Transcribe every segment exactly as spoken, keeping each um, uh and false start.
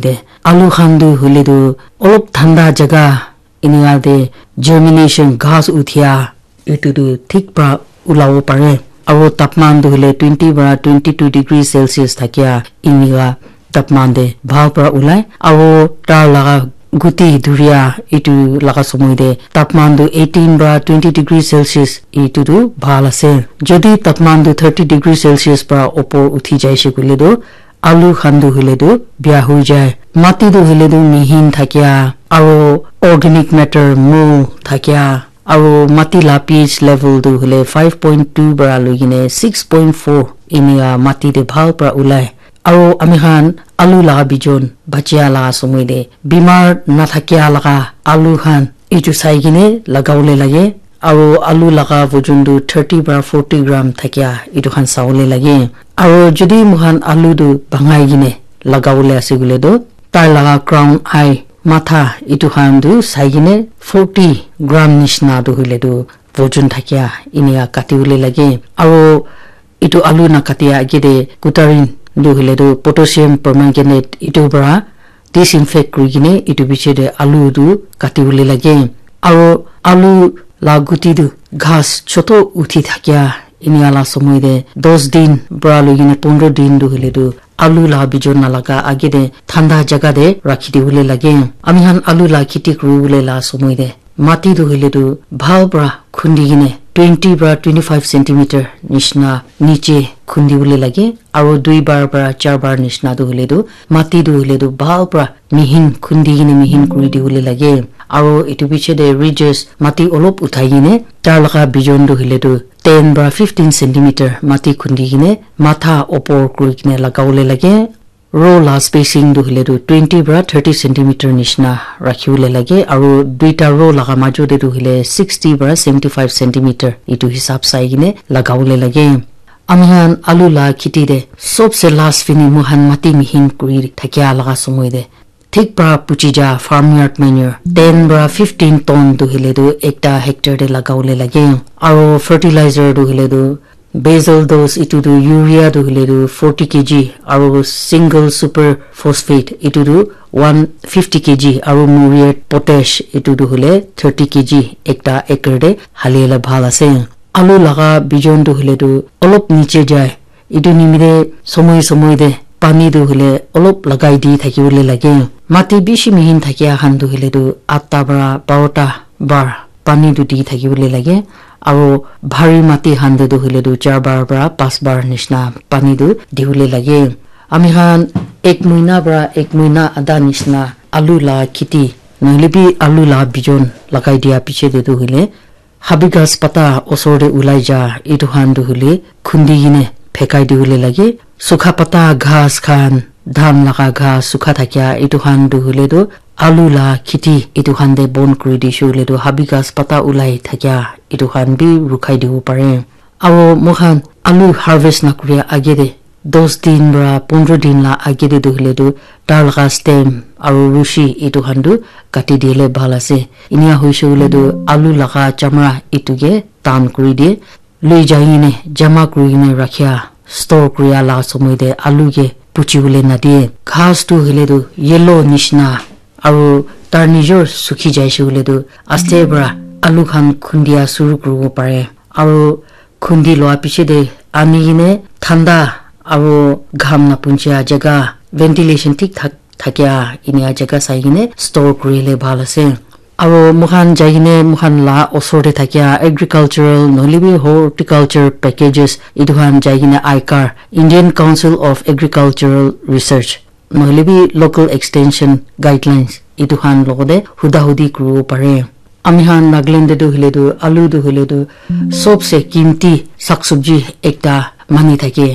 De, alu khan tu hoile tu olop thanda jaga enika te germination ghas uthia etu tu thik pra ulabo pare. Aro tapman tu hoile twenty pra twenty two degree Celsius thakia enika tapman te bhal pra ulai. Aro tar laga guti dhuria etu laga somoi te tapman tu eighteen pra twenty degree Celsius etu tu bhal ase. Jodi tapman tu thirty degree Celsius pra opor uthi jaise koile tu alu khan tu hoile tu bia hoi jai. Mati tu hoile tu mihin thakia aro organic matter mol thakia aro mati la pH level tu hoile five point two para loi kene six point four enika mati te bhal para ulai. Aro ami khan alu laga bijon bachia laga somoi te bimar nathakia laga alu khan etu sai kene lagawole lage. Aro alu laga vojon tu thirty para forty gram thakia etu khan sawole lage. Aro jodi moikhan alu tu bangai kene lagawole ase koile tu tai laga crown eye matha etu khan tu sai kene forty gram nishina tu hoile tu vojon thakia enika katiwole lage. Aro etu alu nakatia age te kutarin tu hoile tu potassium permanganate etu para disinfect kuri kene etu piche te alu tu katiwole lage. Aro alu la guti tu ghas choto uthi thakia enika la somoi te dos din para loi kene pondro din tu hoile tu alu la bijon nalaga age te thanda jaga te rakhi dibole lage. Ami khan alu la kheti kuribole la somoi te mati tu hoile tu bhal para khundi kene twenty para twenty five centimeter nishina niche khundi bole lage. Aro dui bar para char bar nishina tu hoile tu mati tu hoile tu bhal para mihin khundi kene mihin kuri dibole lage. Aro etu piche te ridges mati olop uthai kene tar laga bijon tu hoile tu ten para fifteen centimeter mati khundi kene matha opor kuri kene lagawole lage. Row la spacing tu hoile tu twenty para thirty centimeter nishina rakhiwole lage, aro duita row laga majo te tu hoile sixty para seventy five centimeter etu hisab sai kene lagawole lage. Ami khan alu la kheti te sobse last fini moikhan mati mihin kuri thakia laga somoi te thik para puchi ja farmyard manure ten para fifteen ton tu hoile tu ekta hectare te lagawole lage, aro fertilizer tu hoile tu basal dose etu tu urea tu hoile tu forty K G aro single super phosphate etu tu one fifty K G aro muriate potash etu tu hoile thirty K G ekta acre te hali le bhal ase. Alu laga bijon tu hoile tu olop niche jai, etu nimite somoi somoi te pani tu hoile olop lagai di thaki bole lage. Mati bishi mihin thakia khan tu hoile tu atta para barota bar pani tu di thaki bole lage. Aro bhari mati khan te tu hoile tu char bar para pas bar nishina pani tu di bole lage. Ami khan ek muina para ek muina ada nishina alu la kheti nohoile bi alu la bijon lagai dia piche te tu hoile habi ghas pata osor te ulai ja etu khan tu hoile khundi kene phekai dibole lage. Sukha pata ghas khan, dhan laga ghas sukha thakia etu khan tu hoile tu alu la kheti etu khan te bon kuri dise hoile tu habi ghas pata ulai thakia etu khan bi rukhai dibo pare. Aro moikhan alu harvest nakuria age te dos din para pondro din la age te tu hoile tu tar laga stem aro rushi etu khan tu kati dile bhal ase. Enika hoise koile tu alu laga chamra etu ke tan kuri die. Loi jai kene jama kuri kene rakhia store kuria la somoi te alu ke puchi bole nadie. Ghas tu hoile tu yellow nishina aro tar nijor sukhi jaise koile tu aste para alu khan khundia suru kuribo pare. Aro khundi loa piche te ani kene thanda aro gham napunchia jaga ventilation thik thak thakia enika jaga sai kene store kurile bhal ase. Aro moikhan jai kene moikhan la osor te thakia agricultural nohoile bi horticulture packages etu khan jai kene I C A R, Indian Council of Agricultural Research, nohoile bi local extension guidelines etu khan logote huda hudi kuribo pare. Ami khan Nagaland te tu hoile tu alu tu hoile tu sobse kimti sak sabji ekta mani thake.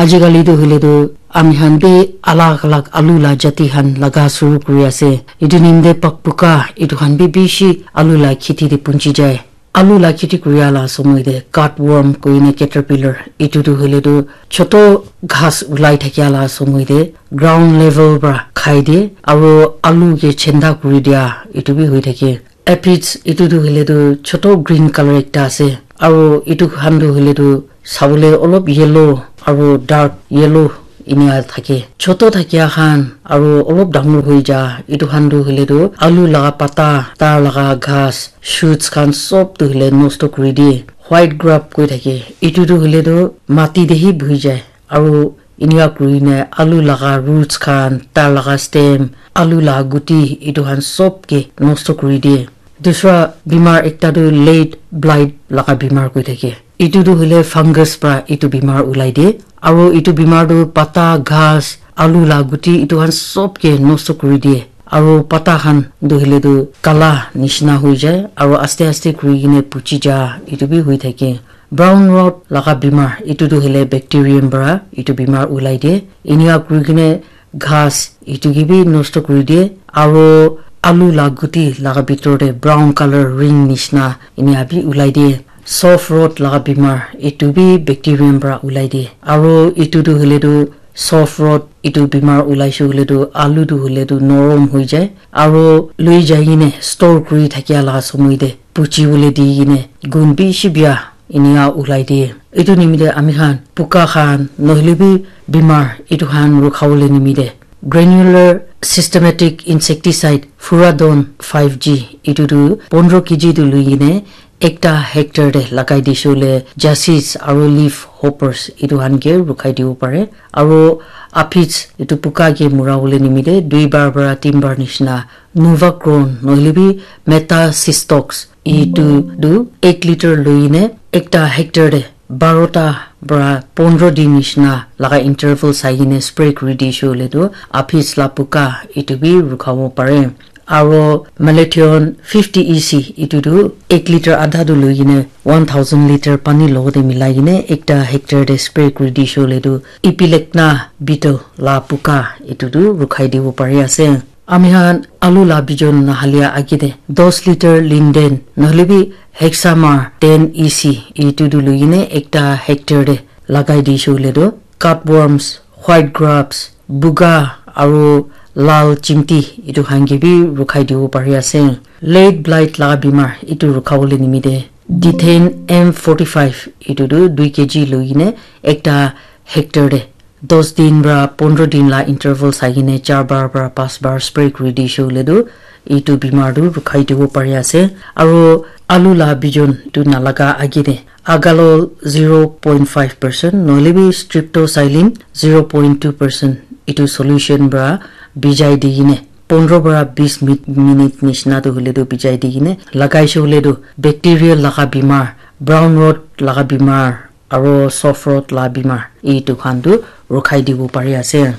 Ajikali tu hoile tu ami khan bi alag alag alu la jati khan laga suru kuri ase. Etu nimite pakpuka etu khan bi bishi alu la kheti te punchi jai. Alu la kheti kuria la somoi te cutworm koine caterpillar etu tu hoile tu choto ghas ulai thakia la somoi te ground level para khai de aro alu ke chenda kuri dia etu bi hoi thake. Aphids etu tu hoile tu choto green color ekta ase aro etu khan tu hoile tu sabole olop yellow aro dark yellow Inika thake. Choto thakia khan aro olop dangor hoi ja, etu khan tu hoile tu alu laga pata, tar laga ghas, shoots khan sob tu hoile nosto kuri die. White grub koi thake. Etu tu hoile tu mati te hi buhi jai. Aro inika kuri kena alu laga roots khan, tar laga stem, alu laga guti, etu khan sob ke nosto kuri die. Dusra bimar ekta tu late blight laga bimar koi thake. Etu tu hoile fungus pra etu bimar ulai die. Aro etu bimar tu pata, ghas, alu laga guti, etu khan sob ke nosto kuri die. Aro pata khan tu hoile tu kala nishina hoi jai. Aro aste aste kuri kena puchi ja, etu bi hoi thake. Brown rot laga bimar, etu tu hoile bacterium pra etu bimar ulai die. Inika kuri kena ghas etu ke bi nosto kuri die. Aro alu laga guti laga bitor te brown colour ring nishina inika bi ulai die. Soft rot laga bimar, etu bi bacterium pra ulai die. Aro etu tu hoile tu soft rot etu bimar ulaise hoile tu alu tu hoile tu norom hoi jai. Aro loi jai kena store kuri thakia laga somoi te puchi bole di kena gun bishi bia inika ulai die. Etu nimite ami khan puka khan nohoile bi bimar etu khan rukha bole nimite granular systematic insecticide Furadon five G etu tu pondro K G tu loi kena ekta hectare te lagai dise hoile chassis aro leaf hoppers etu khan ke rukhai dibo pare. Aro aphids etu puka ke mura bole nimite dui bar pra tin bar nishina Novacron nohoile bi Metaxistox etu tu ek litre loi kena ekta hectare te barota pra pondro din nishina laga interval sai kena spray kuri dise hoile tu aphids la puka etu bi rukhabo pare. Aro Malathion fifty E C etu tu ek litre adha tu loi kena one thousand litre pani logote milai kena ekta hectare te spray kuri dise hoile tu Epilecna beetle la puka etu tu rukhai dibo pari ase. Ami khan alu la bijon nahalia age te dos litre Linden nohoile bi Hexamar ten E C etu tu loi kena ekta hectare te lagai dise hoile tu cutworms, white grubs, buga aro lal chimti etu khan ke bi rukhai dibo pari ase. Late blight la bimar etu rukha bole nimite Dithane M forty five etu tu dui K G loi kena ekta hectare te dos din pra pondro din la interval sai kena char bar pra pas bar spray kuri dise hoile tu etu bimar tu rukhai dibo pari ase. Aro alu la bijon tu nalaga age te Agalol zero point five percent nohoile bi Streptoxylin zero point two percent etu solution pra bijai di kena pondro pra bis mi-, minute nishina tu hoile tu bijai di kena lagaise hoile tu bacterial laga bimar, brown rot laga bimar, aro soft rot la bimar etu khan tu rukhai dibo pari ase.